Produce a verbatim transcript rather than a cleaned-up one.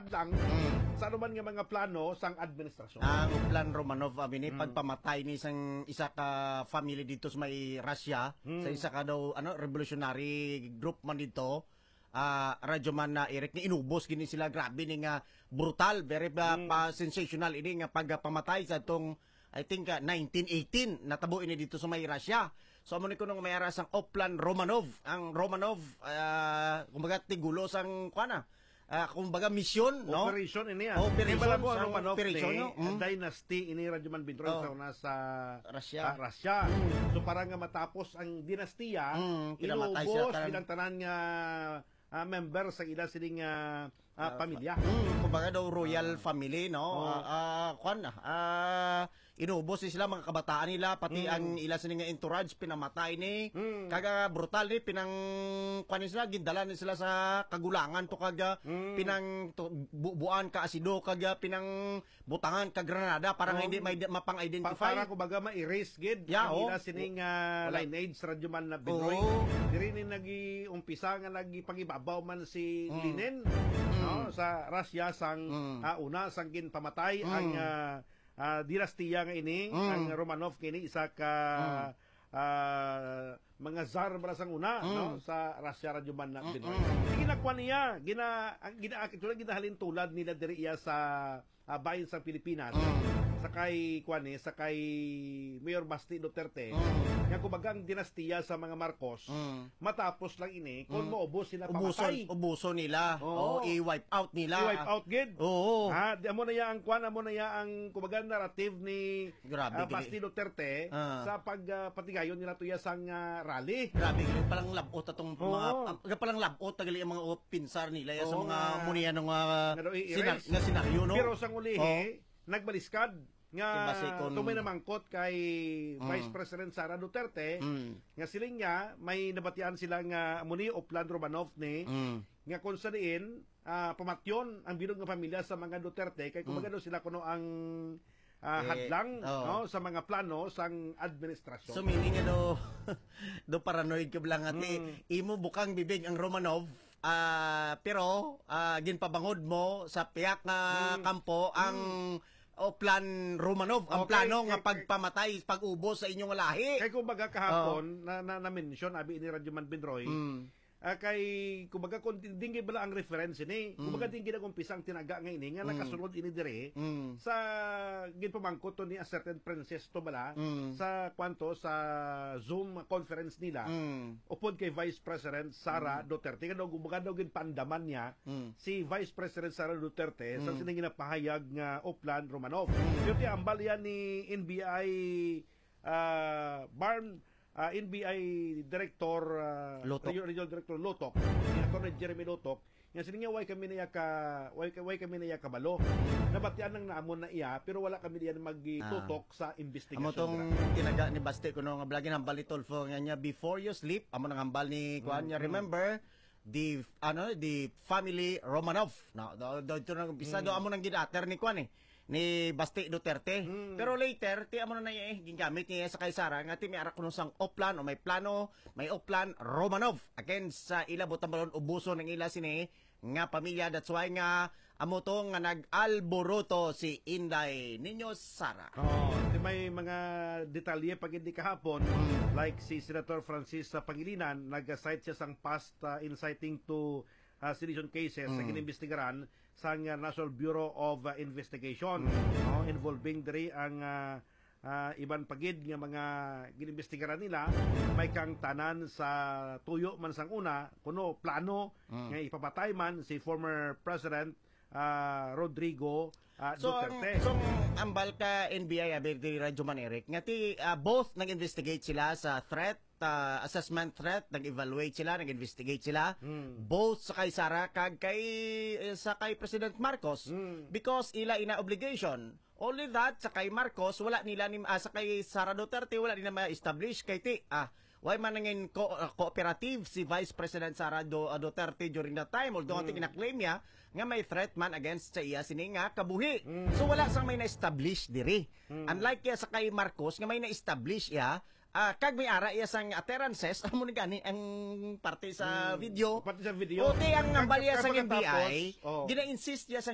lang Mm. sa anuman nga mga plano sang administrasyon. Ang Plan Romanov, abi ni, Mm. pagpamatay ni sang isa ka family dito sa may Russia, Mm. sa isa ka daw, ano, revolutionary group man dito, ah, Radyo Man na Eric, ni inubos gini sila, grabe ni nga brutal, very, ah, Mm. pa sensational ini nga pagpamatay sa tong, I think, ah, nineteen eighteen, natabo ini dito sa may Russia. So, amo ni kuno nga may ara sang Oplan Romanov. Ang Romanov, ah, kumbaga, tigulo sang, kuwan na, ah, kumbaga, misyon, no? Operation ini, ah. Operation, Kay malabo ang sa Romanov operation, ni no? Mm. dynasty ini, Radyo Man Binroy, Oh. sa una sa, Russia. ah, Russia. Mm. So, para nga matapos ang dinastiya, Mm, pinamatay siya, inubos tanan. bilang tanan nga, ah, member sa ila sining, ah, ah, Ah, pamilya. fa-, mm, kumbaga daw royal Ah. family, no? Oo. Ah, ah, kwan, ah, inubos ni sila, mga kabataan nila, pati Mm. ang ila sini nga entourage, pinamatay ni. Mm. Kaga brutal ni, pinang, kwan ni sila, gindala ni sila sa kagulangan to, kaga Mm. pinang to, bu-, buan ka asido, kaga pinang butangan ka granada para nga Oh. hindi may, mapang-identify. Pa-, para, kumbaga, ma-erase gid Yeah, ang oh. ila sining, ah, Wala. lineage, Radyo Man na Binoy. Oo. Diri ni nag-umpisa nga nagpangibabaw man si Mm. Lenin, Mm. no, sa Russia sang, Mm. ah, una sang ginpamatay Mm. ang, ah, ah, dinastiya nga ini, Mm. ang Romanov nga ini, isa ka, Mm. ah, mga tsar bala sang una, Mm. no, sa Russia, Radyo Man na Mm, Binoy. mm. Sige, nakuha niya, gina-, ang gina-, actually, ginahalin tulad nila diri iya sa, ah, bahin sa Pilipinas. Mm. Sa kay, kuwan eh, sa kay Mayor Basti Duterte, Mm. nga kumbaga ang dinastiya sa mga Marcos, Mm. matapos lang ini, kung Mm. maubos sila, Ubuson, pamatay. ubuson nila. Oo. O, i-wipe out nila. I-wipe out gid. Oo. Ha, di, amo na ya ang kuwan, amo na ya ang, kumbaga, narrative ni, Grabe ah, gid. Basti Duterte Ah. sa pag, ah, patigayon nila tuya sang, ah, rally. Grabe gid, palang labot atong Oo. mga, ah, palang labot na gali ang mga pinsar nila ya sa Oo mga nga. muniya nga Nga daw i-erase. sinar-, nga senaryo, no? Pero sang ulihi, Oh. nagbaliskad nga Imbase kon itong may namangkot kay Mm. Vice President Sara Duterte, Mm. nga siling niya, may nabatian sila nga amo ni Oplan Romanov ni, Mm. nga kung sa diin, ah, pamatyon ang bilog nga pamilya sa mga Duterte, kay Mm. kumbaga daw sila kuno ang, ah, Eh, hadlang, oh. no, sa mga plano sang administrasyon. So, meaning nga daw, daw paranoid ka lang, ati, Mm. imo bukang bibig ang Romanov, ah, pero, ah, ginpabangod mo sa piyak nga Mm. kampo ang Mm. Oplan Romanov, ang Okay, plano nga kay, kay pagpamatay, pag-ubos sa inyong lahi. Kay kumbaga kahapon, Oh. na, na, na-mention, abi ni Radyo Man Binroy, Mm. ah, kay, kumbaga, kung di, di bala ang reference ini, Mm. kumbaga, di gid nag-umpisa ang tinaga nga ini, nga Mm. nakasulod ini diri Mm. sa ginpamangkot to ni a certain Princess to bala, Mm. sa kwanto, sa Zoom conference nila, Mm. upod kay Vice President Sara Mm. Duterte. Nga daw, kumbaga daw, ginpaandaman niya Mm. si Vice President Sara Duterte sa Mm. sining ginapahayag nga Oplan Romanov. Mm. Pero ti ambal yan ni N B I, ah, Barn, ah, N B I Director, ah, Lotok. Region-, Regional Director Lotok, si Attorney Jeremy Lotok, nga sini nga, "Why kami na iya ka, why, why kami na iya kabalo? Nabatian lang namon na iya, pero wala kami diyan magtutok Ah. sa investigasyon Amo tong nila." tinaga ni Baste kuno nga vlog, ginhambal ni Tulfo nga niya, "Before you sleep," amo nang hambal ni kuan niya, Mm, mm. remember, the, ano, the family Romanov. No, do, do, ito na umpisa, do, Mm. amo nang ginater ni kuan eh, ni Basti Duterte. Mm. Pero later, ti amo na na eh, gingamit niya sa kay Sara, nga ti may ara kuno sang Oplan o may plano, may Oplan Romanov. Again, sa ila butang balon, ubuson ang ila sini nga pamilya. That's why nga amo to nga nag-alboroto si Inday Niño Sara. Oh, ti may mga detalye pa gid ni kahapon, Mm. like si Senator Francis Pangilinan, nag-cite siya sang past, ah, inciting to, ah, sedition cases sa Mm. ginimbestigaran sang, ah, National Bureau of, ah, Investigation, Mm. no, involving diri ang, ah, ah, iban pa gid nga mga ginimbestigaran nila, may kaangtanan sa tuyo man sang una, kuno plano Mm. nga ipapatay man si former President, ah, Rodrigo, ah, So, ang, Duterte. so, ang ambal ka N B I, abi, diri Radyo Man Eric, nga ti, ah, both nag-investigate sila sa threat, ah, assessment threat, nag-evaluate sila, nag-investigate sila, Hmm. both sa kay Sara kag kay, eh, sa kay President Marcos, Hmm. because ila ina obligation. Only that, sa kay Marcos, wala nila ni, ah, sa kay Sara Duterte, wala nila ma-establish kay ti, ah, why man nangin ko-, ah, cooperative si Vice President Sara Du-, ah, Duterte during that time, although ang Hmm. gina-claim niya nga may threat man against sa iya sini nga kabuhi. Hmm. So, wala sang may na-establish diri. Hmm. Unlike kaya sa kay Marcos nga may na-establish iya, ah, kag may ara iya sang utterances, amo ni gani ang parte sa Hmm. video. Parte sa video. O, ti ang Kag, ambal iya kag sa pagkatapos, N B I, oh. gina-insist iya sa